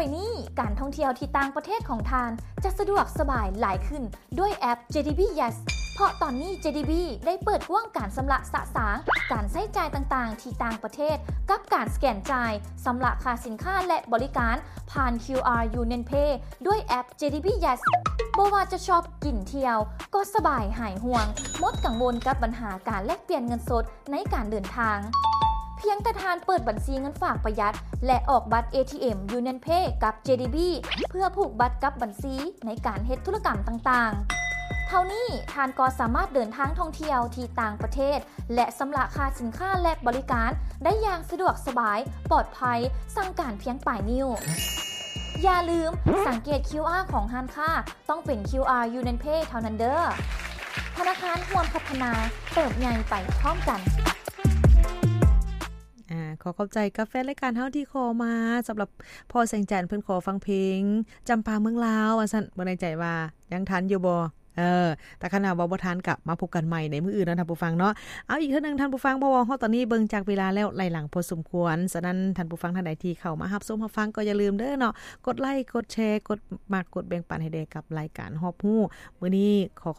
ໄປນີ້ ການທ່ອງທ່ຽວທີ່ຕ່າງປະເທດຂອງທ່ານ ຈະສະດວກສະບາຍຫຼາຍຂຶ້ນດ້ວຍແອັບ ເຈດີບີ Yes ເພາະຕອນນີ້ ເຈດີບີ ໄດ້ເປີດກວ້າງການຊຳລະສະສາງການໃຊ້ຈ່າຍຕ່າງໆທີ່ຕ່າງປະເທດ ກັບການສະແກນຈ່າຍ, ຊຳລະຄ່າສິນຄ້າ ແລະ ບໍລິການຜ່ານ ຄິວອາ Union Pay ດ້ວຍແອັບ ເຈດີບີ Yes. ບໍ່ວ່າຈະຊອບ, ກິນ, ທ່ຽວ ກໍສະບາຍຫາຍຫ່ວງ, ໝົດກັງວົນກັບບັນຫາການແລກປ່ຽນເງິນສົດ ໃນການເດີນທາງ. ພຽງແຕ່ທ່ານເປີດບັນຊີເງິນຝາກປະຢັດ ແລະ ອອກບັດ ເອທີເອັມ Union Pay ກັບ ເຈດີບີ ເພື່ອຜູກບັດກັບບັນຊີໃນການເຮັດທຸລະກຳຕ່າງໆ. ເທົ່ານີ້ທ່ານກໍສາມາດເດີນທາງທ່ອງທ່ຽວທີ່ຕ່າງປະເທດ ແລະ ຊຳລະຄ່າສິນຄ້າ ແລະ ບໍລິການໄດ້ຢ່າງສະດວກສະບາຍ, ປອດໄພ, ສັ່ງການພຽງປາຍນິ້ວ. ຢ່າລືມ, ສັງເກດ ຄິວອາ ຂອງຮ້ານຄ້າ ຕ້ອງເປັນ ຄິວອາ Union Pay ເທົ່ານັ້ນເດີ້. ທະນາຄານຮ່ວມພັດທະນາ, ເຕີບໃຫຍ່ໄປພ້ອມກັນ. ອາ ຂໍຂອບໃຈກັບແຟນລາຍການເຮົາທີ່ຂໍມາ ສຳລັບພໍ່ແສງຈັນ ເພິ່ນຂໍຟັງເພງ ຈຳປາເມືອງລາວ ວ່າຊັ້ນ. ບໍ່ແນ່ໃຈວ່າຍັງທັນຢູ່ບໍ່? ເອີ ແຕ່ຄັນວ່າບໍ່ທັນ ກໍມາພົບກັນໃໝ່ໃນມື້ອື່ນເນາະທ່ານຜູ້ຟັງເນາະ. ເອົາ ອີກເທື່ອໜຶ່ງທ່ານຜູ້ຟັງ ເພາະວ່າຮອດຕອນນີ້ເບິ່ງຈາກເວລາແລ້ວໄຫຼຫຼັງພໍສົມຄວນ. ສະນັ້ນທ່ານຜູ້ຟັງທ່ານໃດທີ່ເຂົ້າມາຮັບຊົມຮັບຟັງ ກໍຢ່າລືມເດີເນາະ ກົດໄລ ກົດແຊ ກົດມັກ ກົດແບ່ງປັນໃຫ້ແດ່ກັບລາຍການຮອບຮູ້. ມື້ນີ້ຂໍ